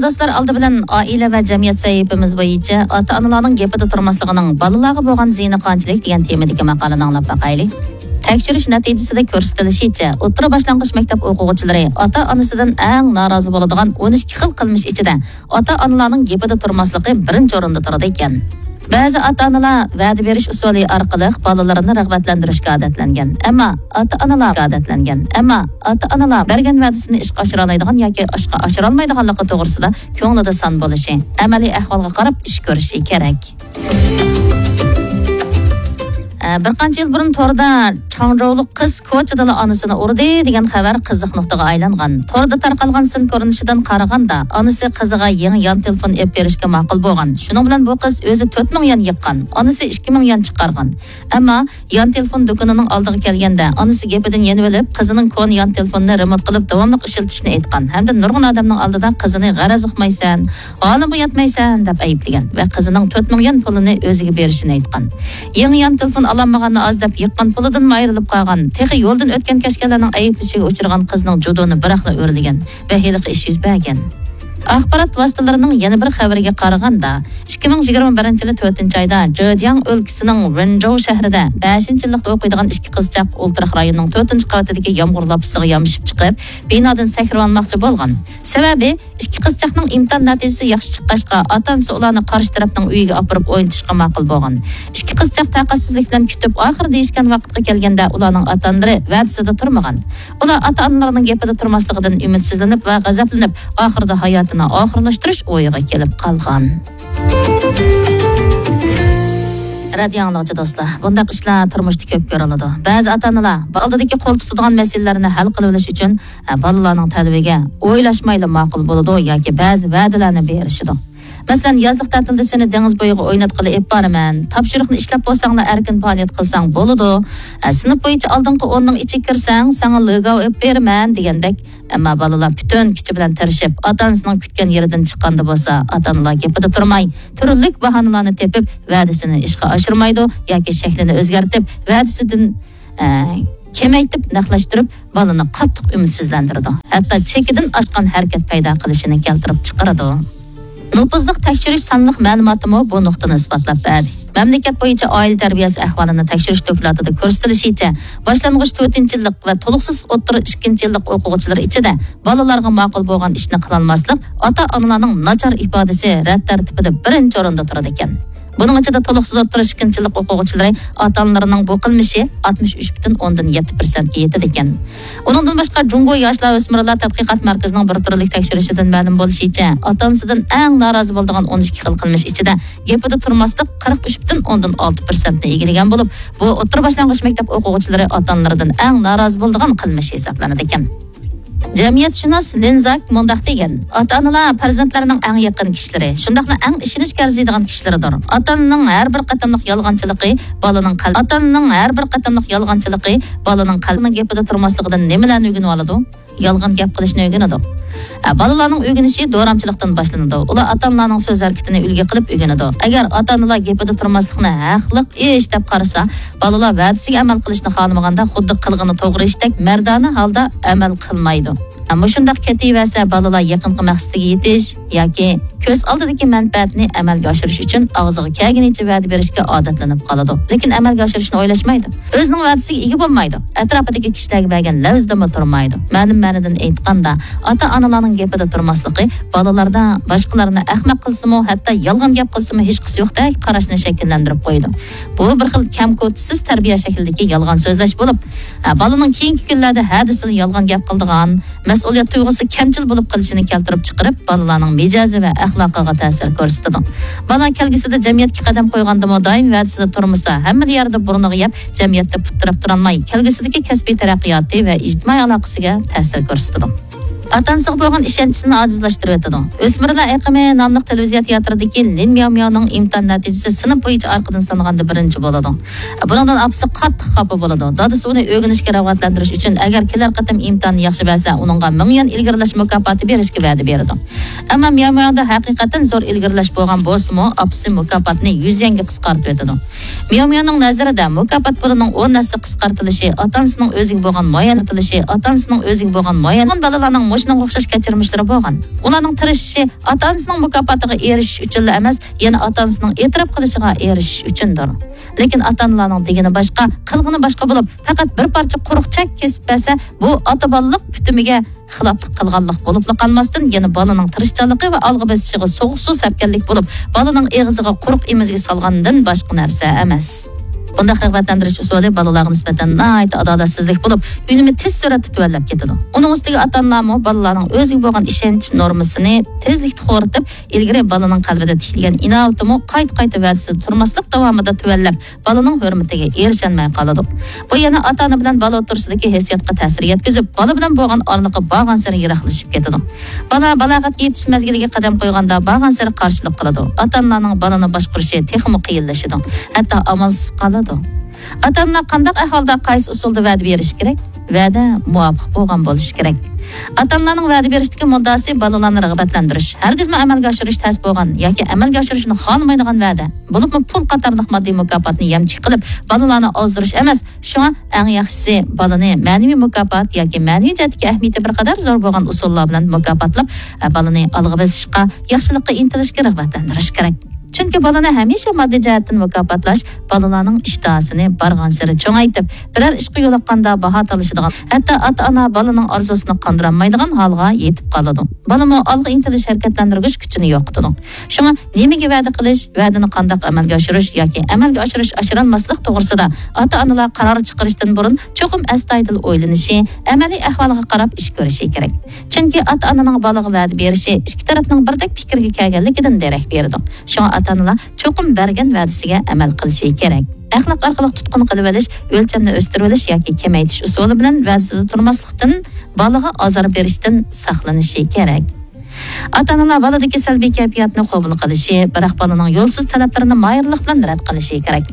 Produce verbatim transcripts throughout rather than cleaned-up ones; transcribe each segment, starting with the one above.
دوستلار، ئالدى بىلەن ئائىلە ۋە جەمئىيەت سەھىپىمىز بويىچە ئاتا-ئانىلارنىڭ گېپىدە تۇرماسلىقىنىڭ بالىلارغا بولغان زىيىنى قانچىلىك دېگەن تېمىدىكى ماقالىنى ئاڭلاپ باقايلى. تەكشۈرۈش نەتىجىسىدە كۆرسىتىلىشىچە، ئوتتۇرا باشلانغۇچ مەكتەپ ئوقۇغۇچىلىرى ئاتا-ئانىسىدىن ئەڭ نارازى بولىدىغان ئون ئىككى خىل قىلمىش ئىچىدە ئاتا-ئانىلارنىڭ گېپىدە تۇرماسلىقى بىرىنچى ئورۇندا تۇرىدىكەن. بەزى ئاتا-ئانىلار ۋەدە بېرىش ئۇسۇلى ئارقىلىق بالىلىرىنى رىغبەتلەندۈرۈشكە ئادەتلەنگەن. ئەمما ئاتا-ئانىلار ئادەتلەنگەن. ئەمما ئاتا-ئانىلار بەرگەن ۋەدىسىنى ئىشقا ئاشۇرالايدىغان ياكى ئىشقا ئاشۇرالمايدىغانلىقى توغرىسىدا كۆڭلىدە سان بولۇشى، ئەمەلىي ئەھۋالغا قاراپ ئىش كۆرۈشى كېرەك. ئە، بىر قانچە يىل بۇرۇن توردا چاڭجولۇق قىز كوچىدىلا ئانىسىنى ئۇردى دېگەن خەۋەر قىزىق نۇقتىغا ئايلانغان. توردا تارقالغان سىن كۆرۈنۈشىدىن قارىغاندا، ئانىسى قىزىغا يېڭى يان تېلېفون ئېلىپ بېرىشكە ماقۇل بولغان. شۇنىڭ بىلەن بۇ قىز ئۆزى تۆت مىڭ يۈەن يىغقان، ئانىسى ئىككى مىڭ يۈەن چىقارغان. ئەمما يان تېلېفون دۇكىنىنىڭ ئالدىغا كەلگەندە، ئانىسى گېپىدىن يېنىۋېلىپ، قىزىنىڭ كونا يان تېلېفونىنى رېمونت قىلىپ، داۋاملىق ئىشلىتىشنى ئېيتقان ھەمدە نۇرغۇن ئادەمنىڭ ئالدىدا قىزىنى «غەرەز ئۇقمايسەن، ھالىمغا يەتمەيسەن» دەپ ئەيىبلىگەن ۋە قىزىنىڭ تۆت مىڭ يۈەن پۇلىنى ئۆزىگە بېرىشىنى ئېيتقان. يېڭى يان تېلېفون ئالالمىغاننى ئاز دەپ، يىغقان پۇلىدىنمۇ ئايرىلىپ قالغان، تېخى يولدىن ئۆتكەن-كەچكەنلەرنىڭ ئەيىبلىشىگە ئۇچرىغان قىزنىڭ جۇدۇنى بىراقلا ئۆرلىگەن ۋە ھېلىقى ئىش يۈز بەرگەن. ئاخبارات ۋاسىتىلىرىنىڭ يەنە بىر خەۋىرىگە قارىغاندا، ئىككى مىڭ يىگىرمە بىرىنچى يىلى تۆتىنچى ئايدا جېجياڭ ئۆلكىسىنىڭ ۋېنجوۋ شەھىرىدە بەشىنچى يىللىقتا ئوقۇيدىغان ئىككى قىزچاق ئولتۇراق رايونىنىڭ تۆتىنچى قەۋىتىدىكى يامغۇر لاپىسىغا يامىشىپ چىقىپ، بىنادىن سەكرىۋالماقچى بولغان. سەۋەبى، ئىككى قىزچاقنىڭ ئىمتىھان نەتىجىسى ياخشى چىققاچقا، ئاتا-ئانىسى ئۇلارنى قارشى تەرەپنىڭ ئۆيىگە ئاپىرىپ ئوينىتىشقا ماقۇل بولغان. ئىككى قىزچاق تاقەتسىزلىك بىلەن كۈتۈپ، ئاخىرى دېيىشكەن ۋاقىتقا كەلگەندە، ئۇلارنىڭ ئاتا-ئانىلىرى ۋەدىسىدە تۇرمىغان. ئۇلار ئاتا-ئانىلىرىنىڭ گېپىدە تۇرماسلىقىدىن ئۈمىدسىزلىنىپ ۋە غەزەپلىنىپ، ئاخىرىدا ھاياتىنى ئاخىرلاشتۇرۇش ئويىغا كېلىپ قالغان. رادىيو ئاڭلىغۇچى دوستلار، بۇنداق ئىشلار تۇرمۇشتا كۆپ كۆرۈلىدۇ. بەزى ئاتا-ئانىلار بالىدىكى قول تۇتىدىغان مەسىلىلەرنى ھەل قىلىۋېلىش ئۈچۈن، ئە، بالىلارنىڭ تەلىپىگە ئويلاشمايلا ماقۇل بولىدۇ ياكى بەزى ۋەدىلەرنى بېرىشىدۇ. مەسىلەن، يازلىق تەتىلدە سېنى دېڭىز بويىغا ئويناتقىلى ئېلىپ بارىمەن، تاپشۇرۇقنى ئىشلەپ بولساڭلا ئەركىن پائالىيەت قىلساڭ بولىدۇ، ئە، سىنىپ بويىچە ئالدىنقى ئوننىڭ ئىچىگە كىرسەڭ ساڭا لىگاۋ ئېلىپ بېرىمەن دېگەندەك. ئەمما بالىلار پۈتۈن كۈچى بىلەن تىرىشىپ، ئاتا-ئانىسىنىڭ كۈتكەن يېرىدىن چىققاندا بولسا، ئاتا-ئانىلار گېپىدە تۇرماي، تۈرلۈك باھانىلارنى تېپىپ، ۋەدىسىنى ئىشقا ئاشۇرمايدۇ ياكى شەكلىنى ئۆزگەرتىپ، ۋەدىسىدىن، ئە، كېمەيتىپ، نەقلەشتۈرۈپ، بالىنى قاتتىق ئۈمىدسىزلەندۈرىدۇ. ھەتتا چېكىدىن ئاشقان ھەرىكەت پەيدا قىلىشىنى كەلتۈرۈپ چىقىرىدۇ. نوپۇزلۇق تەكشۈرۈش سانلىق مەلۇماتىمۇ بۇ نۇقتىنى ئىسپاتلاپ بەردى. مەملىكەت بويىچە ئائىلە تەربىيەسى ئەھۋالىنى تەكشۈرۈش دوكلاتىدا كۆرسىتىلىشىچە، باشلانغۇچ تۆتىنچى يىللىق ۋە تولۇقسىز ئوتتۇرا ئىككىنچى يىللىق ئوقۇغۇچىلار ئىچىدە بالىلارغا ماقۇل بولغان ئىشنى قىلالماسلىق، ئاتا-ئانىلارنىڭ ناچار ئىپادىسى رەت تەرتىپىدە بىرىنچى ئورۇندا تۇرىدىكەن. بۇنىڭ ئىچىدە تولۇقسىز ئوتتۇرا ئىككىنچى يىللىق ئوقۇغۇچىلىرى ئاتا-ئانىلىرىنىڭ بۇ قىلمىشى ئاتمىش ئۈچ پۈتۈن ئوندىن يەتتە پىرسەنتكە يېتىدىكەن. ئۇنىڭدىن باشقا، جۇڭگو ياشلار ئۆسمۈرلەر تەتقىقات مەركىزىنىڭ بىر تۈرلۈك تەكشۈرۈشىدىن مەلۇم بولۇشىچە، ئاتا-ئانىسىدىن ئەڭ نارازى بولىدىغان ئون ئىككى خىل قىلمىش ئىچىدە گېپىدە تۇرماسلىق قىرىق ئۈچ پۈتۈن ئوندىن ئالتە پىرسەنتنى ئىگىلىگەن بولۇپ، بۇ ئوتتۇرا باشلانغۇچ مەكتەپ ئوقۇغۇچىلىرى ئاتا-ئانىلىرىدىن ئەڭ نارازى بولىدىغان قىلمىش ھېسابلىنىدىكەن. جەمئىيەتشۇناس لىنزاك مۇنداق دېگەن: «ئاتا-ئانىلار پەرزەنتلەرنىڭ ئەڭ يېقىن كىشىلىرى، شۇنداقلا ئەڭ ئىشىنىشكە ئەرزىيدىغان كىشىلىرىدۇر. ئاتا-ئانىنىڭ ھەر بىر قېتىملىق يالغانچىلىقى بالىنىڭ قەل-، ئاتا-ئانىنىڭ ھەر بىر قېتىملىق يالغانچىلىقى بالىنىڭ قەلبىنىڭ گېپىدە تۇرماسلىقىدىن نېمىلەرنى ئۆگىنىۋالىدۇ؟ يالغان گەپ قىلىشنى ئۆگىنىدۇ.» ئە، بالىلارنىڭ ئۆگىنىشى دورامچىلىقتىن باشلىنىدۇ. ئۇلار ئاتا-ئانىلارنىڭ سۆز ھەرىكىتىنى ئۈلگە قىلىپ ئۆگىنىدۇ. ئەگەر ئاتا-ئانىلار گېپىدە تۇرماسلىقنى ھەقلىق ئىش دەپ قارىسا، بالىلار ۋەدىسىگە ئەمەل قىلىشنى خالىمىغاندا، خۇددى قىلغىنى توغرا ئىشتەك مەردانە ھالدا ئەمەل قىلمايدۇ. مۇشۇنداق كېتىۋەرسە، بالىلار يېقىنقى مەقسىتىگە يېتىش ياكى كۆز ئالدىدىكى مەنپەئەتنى ئەمەلگە ئاشۇرۇش ئۈچۈن ئاغزىغا كەلگىنىچە ۋەدە بېرىشكە ئادەتلىنىپ قالىدۇ. لېكىن ئەمەلگە ئاشۇرۇشنى ئويلاشمايدۇ. ئۆزىنىڭ ۋەدىسىگە ئىگە بولمايدۇ. ئەتراپىدىكى كىشىلەرگە بەرگەن لەۋزىدىنمۇ تۇرمايدۇ. مەلۇم مەنىدىن ئېيتقاندا، ئاتا-ئانىلارنىڭ گېپىدە تۇرماسلىقى بالىلاردا باشقىلارنى ئەخمەق قىلسىمۇ، ھەتتا يالغان گەپ قىلسىمۇ ھېچقىسى يوقتەك قاراشنى شەكىللەندۈرۈپ قويىدۇ. بۇ بىر خىل كەمكۆتۈسىز تەربىيە شەكلىدىكى يالغان سۆزلەش بولۇپ، ھە، بالىنىڭ كېيىنكى كۈنلەردە ھە دېسىلا يالغان گەپ قىلىدىغان، مەسئۇلىيەت تۇيغۇسى كەمچىل بولۇپ قېلىشىنى كەلتۈرۈپ چىقىرىپ، بالىلارنىڭ مىجەزى ۋە ئەخلاقىغا تەسىر كۆرسىتىدۇ. بالا كەلگۈسىدە جەمئىيەتكە قەدەم قويغاندىمۇ دائىم ۋەدىسىدە تۇرمىسا، ھەممىلا يەردە بۇرنىغا يەپ، جەمئىيەتتە پۇت تىرەپ تۇرالماي، كەلگۈسىدىكى كەسپىي تەرەققىياتى ۋە ئىجتىمائىي ئالاقىسىگە تەسىر كۆرسىتىدۇ. ئاتا-ئانىسىغا بولغان ئىشەنچىسىنى ئاجىزلاشتۇرۇۋېتىدۇ. «ئۆسمۈرلەر ئېقىمى» ناملىق تېلېۋىزىيە تىياتىرىدىكى لىن مياۋ مياۋنىڭ ئىمتىھان نەتىجىسى سىنىپ بويىچە ئارقىدىن سانىغاندا بىرىنچى بولىدۇ. بۇنىڭدىن ئاپىسى قاتتىق خاپا بولىدۇ. دادىسى ئۇنى ئۆگىنىشكە رىغبەتلەندۈرۈش ئۈچۈن، ئەگەر كېلەر قېتىم ئىمتىھاننى ياخشى بەرسە، ئۇنىڭغا مىڭ يۈەن ئىلگىرىلەش مۇكاپاتى بېرىشكە ۋەدە بېرىدۇ. ئەمما مياۋ مياۋدا ھەقىقەتەن زور ئىلگىرىلەش بولغان بولسىمۇ، ئاپىسى مۇكاپاتنى يۈز يۈەنگە قىسقارتىۋېتىدۇ. مياۋ مياۋنىڭ نەزىرىدە، مۇكاپات پۇلىنىڭ ئون ھەسسە قىسقارتىلىشى ئاتا-ئانىسىنىڭ ئۆزىگە بولغان مايىل، ئاتا-ئانىسىنىڭ ئۆزىگە بولغان مايىل، بالىلارنىڭ مۇش شۇنىڭغا ئوخشاش كەچۈرمىشلىرى بولغان. ئۇلارنىڭ تىرىشىشى ئاتا-ئانىسىنىڭ مۇكاپاتىغا ئېرىشىش ئۈچۈنلا ئەمەس، يەنە ئاتا-ئانىسىنىڭ ئېتىراپ قىلىشىغا ئېرىشىش ئۈچۈندۇر. لېكىن ئاتا-ئانىلارنىڭ دېگىنى باشقا، قىلغىنى باشقا بولۇپ، پەقەت بىر پارچە قۇرۇق چەك كېسىپ بەرسە، بۇ ئاتا-بالىلىق پۈتۈمىگە خىلاپلىق قىلغانلىق بولۇپلا قالماستىن، يەنە بالىنىڭ تىرىشچانلىقى ۋە ئالغا بېسىشىغا سوغۇق سۇ سەپكەنلىك بولۇپ، بالىنىڭ ئېغىزىغا قۇرۇق ئېمىزگە سالغاندىن باشقا نەرسە ئەمەس. بۇنداق رىغبەتلەندۈرۈش ئۇسۇلى بالىلارغا نىسبەتەن ناھايىتى ئادالەتسىزلىك بولۇپ، ئۈنۈمى تېز سۈرئەتتە تۆۋەنلەپ كېتىدۇ. ئۇنىڭ ئۈستىگە ئاتا-ئانىلارمۇ بالىلارنىڭ ئۆزىگە بولغان ئىشەنچ نورمىسىنى تېزلىكتە خورىتىپ، ئىلگىرى بالىنىڭ قەلبىدە تىكلىگەن ئىناۋىتىمۇ قايتا-قايتا ۋەدىسىدە تۇرماسلىق داۋامىدا تۆۋەنلەپ، بالىنىڭ ھۆرمىتىگە ئېرىشەلمەي قالىدۇ. بۇ يەنە ئاتا-ئانا بىلەن بالا ئوتتۇرىسىدىكى ھېسسىياتقا تەسىر يەتكۈزۈپ، بالا بىلەن بولغان ئارىلىقى بارغانسېرى يىراقلىشىپ كېتىدۇ. بالا بالاغەتكە يېتىش مەزگىلىگە قەدەم قويغاندا بارغانسېرى قارشىلىق قىلىدۇ. ئاتا-ئانىلارنىڭ بالىنى باشقۇرۇشى تېخىمۇ قىيىنلىشىدۇ. ھەتتا ئامالسىز قالىدۇ. ئاتا-ئانىلار قانداق ئەھۋالدا قايسى ئۇسۇلدا ۋەدە بېرىشى كېرەك؟ ۋەدە مۇۋاپىق بولغان بولۇشى كېرەك. ئاتا-ئانىلارنىڭ ۋەدە بېرىشتىكى مۇددىئاسى بالىلارنى رىغبەتلەندۈرۈش، ھەرگىزمۇ ئەمەلگە ئاشۇرۇش تەس بولغان ياكى ئەمەلگە ئاشۇرۇشنى خالىمايدىغان ۋەدە، بولۇپمۇ پۇل قاتارلىق ماددىي مۇكاپاتنى يەمچۈك قىلىپ، بالىلارنى ئازدۇرۇش ئەمەس. شۇڭا ئەڭ ياخشىسى بالىنى مەنىۋى مۇكاپات ياكى مەنىۋى جەھەتتىكى ئەھمىيىتى بىر قەدەر زور بولغان ئۇسۇللار بىلەن مۇكاپاتلاپ، بالىنى ئالغا بېسىشقا، ياخشىلىققا ئىنتىلىشكە رىغبەتلەندۈرۈش كېرەك. چۈنكى بالىنى ھەمىشە ماددىي جەھەتتىن مۇكاپاتلاش بالىلارنىڭ ئىشتىھاسىنى بارغانسېرى چوڭايتىپ، بىرەر ئىشقا يولۇققاندا باھا تالىشىدىغان، ھەتتا ئاتا-ئانا بالىنىڭ ئارزۇسىنى قاندۇرالمايدىغان ھالغا يېتىپ قالىدۇ. بالىمۇ ئالغا ئىنتىلىش ھەرىكەتلەندۈرگۈچ كۈچىنى يوقىتىدۇ. شۇڭا نېمىگە ۋەدە قىلىش، ۋەدىنى قانداق ئەمەلگە ئاشۇرۇش ياكى ئەمەلگە ئاشۇرۇش-ئاشۇرالماسلىق توغرىسىدا ئاتا-ئانىلار قارار چىقىرىشتىن بۇرۇن چوقۇم ئەستايىدىل ئويلىنىشى، ئەمەلىي ئەھۋالغا قاراپ ئىش كۆرۈشى كېرەك. چۈنكى ئاتا-ئانىنىڭ بالىغا ۋەدە بېرىشى ئىككى تەرەپنىڭ بىردەك پىكىرگە كەلگەنلىكىدىن دېرەك بېرىدۇ. شۇڭا ئاتا-ئانىلار چوقۇم بەرگەن ۋەدىسىگە ئەمەل قىلىشى كېرەك. ئەخلاق ئارقىلىق تۇتقۇن قىلىۋېلىش، ئۆلچەمنى ئۆستۈرۈۋېلىش ياكى كېمەيتىش ئۇسۇلى بىلەن ۋەدىسىدە تۇرماسلىقتىن، بالىغا ئازار بېرىشتىن ساقلىنىشى كېرەك. ئاتا-ئانىلار بالىدىكى سەلبىي كەيپىياتنى قوبۇل قىلىشى، بىراق بالىنىڭ يولسىز تەلەپلىرىنى ماھىرلىق بىلەن رەت قىلىشى كېرەك.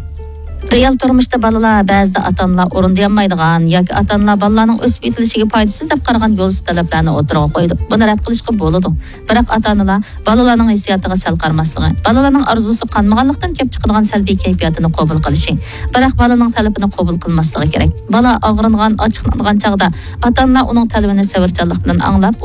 رېئال تۇرمۇشتا بالىلار بەزىدە ئاتا-ئانىلار ئورۇندىيالمايدىغان ياكى ئاتا-ئانىلار بالىلارنىڭ ئۆسۈپ يېتىلىشىگە پايدىسىز دەپ قارىغان يولسىز تەلەپلەرنى ئوتتۇرىغا قويىدۇ. بۇنى رەت قىلىشقا بولىدۇ. بىراق ئاتا-ئانىلار بالىلارنىڭ ھېسسىياتىغا سەل قارىماسلىقى، بالىلارنىڭ ئارزۇسى قانمىغانلىقتىن كېلىپ چىقىدىغان سەلبىي كەيپىياتىنى قوبۇل قىلىشى، بىراق بالىنىڭ تەلىپىنى قوبۇل قىلماسلىقى كېرەك. بالا ئاغرىنغان، ئاچچىقلانغان چاغدا ئاتا-ئانىلار ئۇنىڭ تەلىپىنى سەۋرچانلىق بىلەن ئاڭلاپ،